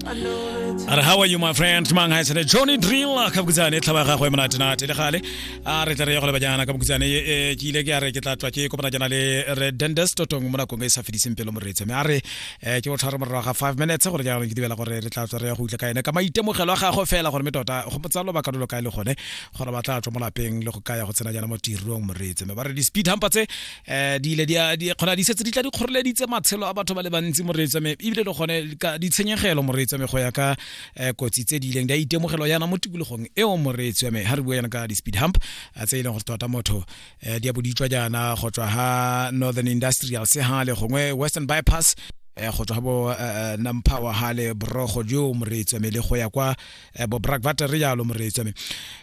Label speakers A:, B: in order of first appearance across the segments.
A: A re, "How are you, my friend?" Mang ha sene Johnny Drill ka bokutsane tlhaba gagwe monatenate le gale. A re tla re ya go leba jaana ka bokutsane, ke ile ke a re ke tla tswa ke kopana jaana le re Dendes Totong mo nakong e sa fediseng pelo, moreetsi. Mme a re ke go tshware morago ga 5 minutes gore jaanong ke dumela gore re tla tswa re ya go utlwa ka ene ka maitemogelo a gagwe fela, gore mme tota go motsa lobaka lo lo kae le gone gore ba tla tswa mo lapeng le go kaya go tsena jaana mo tirong, moreetsi. Mme ba re di-speed humper tse di ile di kgona di setse di tla di kgoreleditse matshelo a batho ba le bantsi, moreetsi, mme ebile le gone ka ditshenyegelo, moreetsi, mme go ya ka kotsi tse di ileng di a itemogelo yana mo tikologong eo, moreetsi. Mme ha re bua yana ka di-speed hump tse e leng gore tota motho di a bo di tswa jaana go tswa ha Northern Industrial se ha le gongwe Western Bypass, go tswa bo Nampower ha le borogo jo, moreetsi, mme le go ya kwa bo Brakwater re jalo, moreetsi. Mme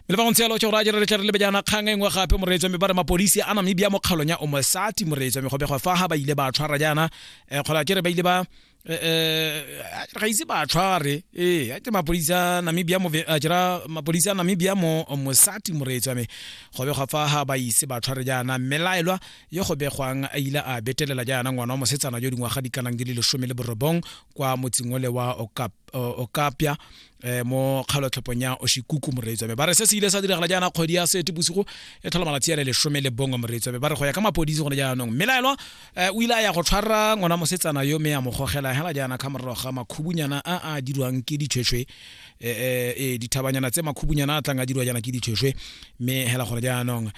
A: le fa go ntse jalo, ke gore a jere re tle re lebe jaana kgang e nngwe gape, moreetsi. Mme ba re mapodisi a Namibia mo kgaolong ya Omosati, moreetsi, mme go begwa fa ha ba ile ba tshwara jaana, kgola ke re ba ile ba ga ise ba tshware, ee, ke mapodisi a Namibia mo, kera mapodisi a Namibia mo Mosati, moreetsi wa me, go begwa fa ha ba ise ba tshware jaana mmelaelwa yo go begwang a ile a betelela jaana ngwana wa mosetsana yo dingwaga di kanang di le 19 kwa motseng ole wa Okapya mo kgalotlhophong ya Oshikuku, moreetsi wa me. Ba re se se ile sa diragala jaana kgwedi ya Seetebosigo e tlhola malatsi a le 11, moreetsi wa me. Ba re go ya ka mapodisi gone jaanong mmelaelwa o ile a ya go tshwara ngwana mosetsana yo mme a mo gogela hela jaana ka morago ga makhubunyana a a dirwang ke ditshweshwe, dithabanyana tse makhubunyana a tlang a dirwa jaana ke ditshweshwe, mme hela gore jaanong